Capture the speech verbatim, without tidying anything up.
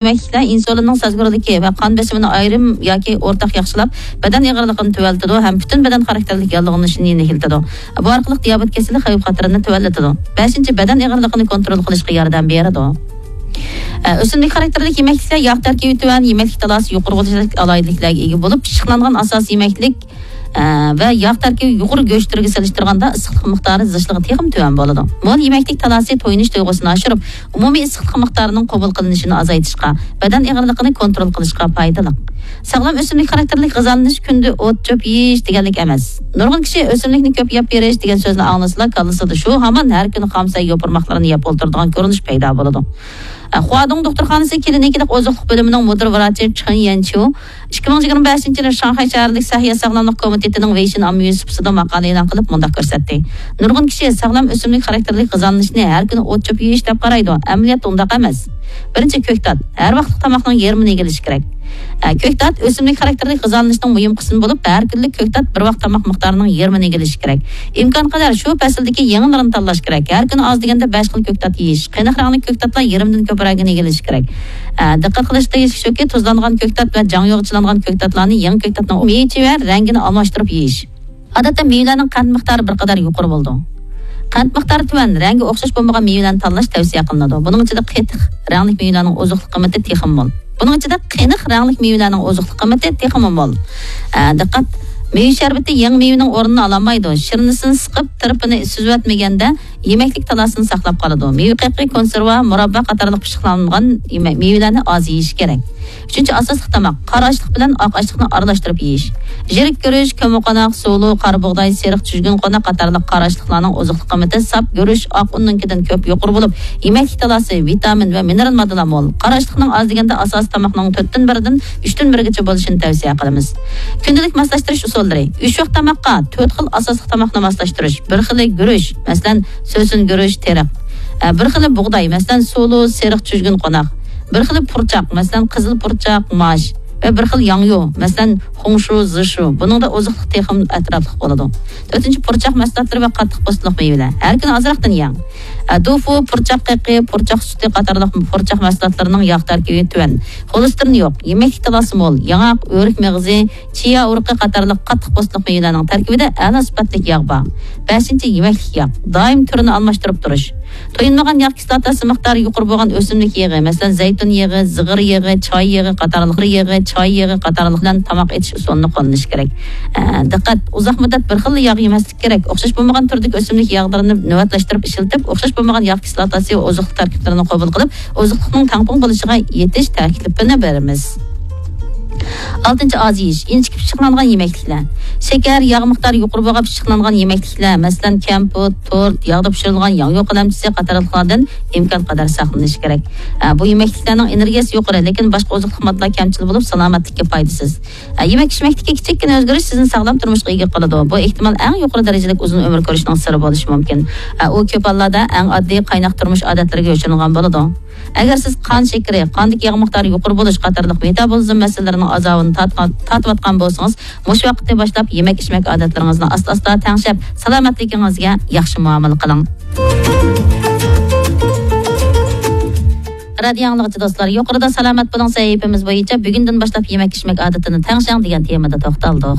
يېمەكلىكلەر ئىنسۇلىننىڭ سەزگۈرلۈكى ۋە قان بېسىمىنى ئايرىم ياكى ئورتاق ياخشىلاپ، بەدەن ئېغىرلىقىنى تۆۋەنلىتىدۇ ھەم پۈتۈن بەدەن خاراكتېرلىك ياللۇغلىنىشنى يېنىكلىتىدۇ. بۇ ئارقىلىق دىيابېت كېسىلى خەۋپ خەتىرىنى تۆۋەنلىتىدۇ. بەشىنچى، بەدەن ئېغىرلىقىنى كونترول قىلىشقا ياردەم بېرىدۇ. ئە، ئۆسۈملۈك خاراكتېرلىك يېمەكلىكلەر ياغ تەركىبى تۆۋەن، يېمەكلىك تالاسى يۇقىرى بولۇشلۇق ئالاھىدىلىكلەرگە ئىگە بولۇپ، پىششىقلانغان ئاساسىي يېمەكلىك، ئە، ۋە ياغ تەركىبى يۇقىرى گۆشلىرىگە سېلىشتۇرغاندا ئىسسىقلىق مىقدارى زىچلىقى تېخىمۇ تۆۋەن بولىدۇ. مول يېمەكلىك تالاسى تويۇنۇش تۇيغۇسىنى ئاشۇرۇپ، ئومۇمىي ئىسسىقلىق مىقدارىنىڭ قوبۇل قىلىنىشىنى ئازايتىشقا، بەدەن ئېغىرلىقىنى كونترول قىلىشقا پايدىلىق. ساغلام ئۆسۈملۈك خاراكتېرلىك غىزالىنىش كۈندە ئوت چۆپ يېيىش دېگەنلىك ئەمەس. نۇرغۇن كىشى ئۆسۈملۈكنى كۆپ يەپ بېرىش دېگەن سۆزنى ئاڭلىسىلا، كاللىسىدا شۇ ھامان ھەر كۈنى خام سەي يوپۇرماقلىرىنى يەپ ئولتۇرىدىغان كۆرۈنۈش پەيدا بولىدۇ. خۇادۇڭ دوختۇرخانىسى كلىنىكىلىق ئوزۇقلۇق بۆلۈمىنىڭ مۇدىر ۋراچى چېن يەنچيۇ ئىككى مىڭ يىگىرمە بەشىنچى يىلى شاڭخەي شەھەرلىك سەھىيە ساغلاملىق كومىتېتىنىڭ ۋېيشىن ئاممىۋى سۇپىسىدا ماقالە ئېلان قىلىپ مۇنداق كۆرسەتتى: نۇرغۇن كىشى ساغلام ئۆسۈملۈك خاراكتېرلىك غىزالىنىشنى ھەر كۈنى ئوت چۆپ يېيىش دەپ قارايدۇ. ئەمەلىيەتتە ئۇنداق ئەمەس. بىرىنچى، كۆكتات. ھەر ۋاقىتلىق تاماقنىڭ يېرىمىنى ئىگىلىشى كېرەك. ئە، كۆكتات ئۆسۈملۈك خاراكتېرلىك غىزالىنىشنىڭ مۇھىم قىسمى بولۇپ، ھەر كۈنلۈك كۆكتات بىر ۋاق تاماق مىقدارىنىڭ يېرىمىنى ئىگىلىشى كېرەك. ئىمكانقەدەر شۇ پەسىلدىكى يېڭىلىرىنى تاللاش كېرەك. ھەر كۈنى ئاز دېگەندە بەش خىل كۆكتات يېيىش. قېنىق رەڭلىك كۆكتاتلار يېرىمدىن كۆپرەكنى ئىگىلىشى كېرەك. ئە، دىققەت قىلىش تېگىشلىك شۇكى، تۇزلانغان كۆكتات ۋە جاڭيۇغا چىلانغان كۆكتاتلارنى يېڭى كۆكتاتنىڭ مېۋىسى ۋە رەڭگىنى ئالماشتۇرۇپ يېيىش. ئادەتتە مېۋىلەرنىڭ قەنت مىقدارى بىر قەدەر يۇقىرى بولىدۇ. قەنت مىقدارى تۆۋەن، رەڭگى ئوخشاش بولمىغان مېۋىلەرنى تاللاش تەۋسىيە قىلىنىدۇ. بۇنىڭ ئىچىدە قېتىق رەڭلىك مېۋىلەرنىڭ ئوزۇقلۇق قىممىتى تېخىمۇ مول. بۇنىڭ ئىچىدە قېنىق رەڭلىك مېۋىلەرنىڭ ئوزۇقلۇق قىممىتى تېخىمۇ مول. ئە، دىققەت! مېۋە شەربىتى يېڭى مېۋىنىڭ ئورنىنى ئالالمايدۇ. شىرنىسىنى سىقىپ، تىرپىنى سۈزۈۋەتمىگەندە، يېمەكلىك تالاسىنى ساقلاپ قالىدۇ. مېۋە قېقى، كونسېرۋا، مۇراببا قاتارلىق پىششىقلانغان يېمە-، مېۋىلەرنى ئاز يېيىش كېرەك. ئۈچىنچى، ئاساسلىق تاماق. قارا ئاشلىق بىلەن ئاق ئاشلىقنى ئارىلاشتۇرۇپ يېيىش. يىرىك گۈرۈچ، كۆممىقوناق، سۇلۇ، قارا بۇغداي، سېرىق چۈجگۈن قوناق قاتارلىق قارا ئاشلىقلارنىڭ ئوزۇقلۇق قىممىتى ساپ گۈرۈچ، ئاق ئۇننىڭكىدىن كۆپ يۇقىرى بولۇپ، يېمەكلىك تالاسى، ۋىتامىن ۋە مىنېرال ماددىلار مول. قارا ئاشلىقنىڭ ئاز دېگەندە ئاساسىي تاماقنىڭ تۆتتىن بىرىدىن ئۈچتىن بىرىگىچە بولۇشىنى تەۋسىيە قىلىمىز. كۈندىلىك ماسلاشتۇرۇش ئۇسۇللىرى. ئۈچ ۋاق تاماققا تۆت خىل ئاساسلىق تاماقنى ماسلاشتۇرۇش. بىر خىلى گۈرۈچ، مەسىلەن، سۆسۈن گۈرۈچ، تېرىق. ئە، بىر خىلى بۇغداي، مەسىلەن، سۇلۇ، سېرىق چۈجگۈن قوناق. بىر خىلى پۇرچاق، مەسىلەن، قىزىل پۇرچاق، ماش. ۋە بىر خىل ياڭيۇ، مەسىلەن، خۇڭشۇ، زىشۇ. بۇنىڭدا ئوزۇقلۇق تېخىمۇ ئەتراپلىق بولىدۇ. تۆتىنچى، پۇرچاق مەھسۇلاتلىرى ۋە قاتتىق پوستلۇق مېۋىلەر. ھەر كۈنى ئازراقتىن يەڭ. ئە، دۇفۇ، پۇرچاق قېقى، پۇرچاق سۈتى قاتارلىق پۇرچاق مەھسۇلاتلىرىنىڭ ياغ تەركىبى تۆۋەن، خولېستېرىن يوق، يېمەكلىك تالاسى مول، ياڭاق، ئۆرۈك مېغىزى، چىيا ئۇرۇقى قاتارلىق قاتتىق پوستلۇق مېۋىلەرنىڭ تەركىبىدە ئەلا سۈپەتلىك ياغ بار. بەشىنچى، يېمەكلىك ياغ. دائىم تۈرىنى ئالماشتۇرۇپ تۇرۇش. تويۇنمىغان ياغ كىسلاتاسى مىقدارى يۇقىرى بولغان ئۆسۈملۈك يېغى، مەسىلەن، زەيتۇن يېغى، زىغىر يېغى، چاي يېغى قاتارلىق، يېغى، چاي يېغى قاتارلىق بىلەن تاماق ئېتىش ئۇسۇلىنى قوللىنىش كېرەك. ئە، دىققەت! ئۇزاق مۇددەت بىر خىللا ياغ يېمەسلىك كېرەك. ئوخشاش بولمىغان تۈردىكى ئۆسۈملۈك ياغلىرىنى نۆۋەتلەشتۈرۈپ ئىشلىتىپ، ئوخشاش بولمىغان ياغ كىسلاتاسى ۋە ئوزۇقلۇق تەركىبلىرىنى قوبۇل قىلىپ، ئوزۇقلۇقنىڭ تەڭپۇڭ بولۇشىغا يېتىش تەكلىپىنى بېرىمىز. ئالتىنچى، ئاز يېيىش، ئىنچىكە پىششىقلانغان يېمەكلىكلەر. شېكەر، ياغ مىقدارى يۇقىرى بولغان پىششىقلانغان يېمەكلىكلەر، مەسىلەن، كەمپۈت، تورت، ياغدا پىشۇرۇلغان ياڭيۇ قەلەمچىسى قاتارلىقلاردىن ئىمكان قەدەر ساقلىنىش كېرەك. ئە، بۇ يېمەكلىكلەرنىڭ ئېنېرگىيەسى يۇقىرى، لېكىن باشقا ئوزۇقلۇق ماددىلار كەمچىل بولۇپ، سالامەتلىككە پايدىسىز. ئە، يېمەك ئىچمەكتىكى كىچىككىنە ئۆزگىرىش سىزنى ساغلام تۇرمۇشقا ئىگە قىلىدۇ. بۇ ئېھتىمال ئەڭ يۇقىرى دەرىجىلىك ئۇزۇن ئۆمۈر كۆرۈشنىڭ سىرى بولۇشى مۇمكىن. ئە، ئۇ كۆپ ھاللاردا ئەڭ ئاددىي قايناق تۇرمۇش ئادەتلىرىگە يوشۇرۇنغان بولىدۇ. ئەگەر سىز قان شېكىرى، قاندىكى ياغ مىقدارى يۇقىرى بولۇش قاتارلىق مېتابولىزم مەسىلىلىرىنىڭ ئازابىنى تارتقان، تارتىۋاتقان بولسىڭىز، مۇشۇ ۋاقىتتىن باشلاپ يېمەك ئىچمەك ئادەتلىرىڭىزنى ئاستا ئاستا تەڭشەپ، سالامەتلىكىڭىزگە ياخشى مۇئامىلە قىلىڭ. رادىيو ئاڭلىغۇچى دوستلار، يۇقىرىدا سالامەت بولۇڭ سەھىپىمىز بويىچە بۈگۈندىن باشلاپ يېمەك ئىچمەك ئادىتىنى تەڭشەڭ دېگەن تېمىدا توختالدۇق.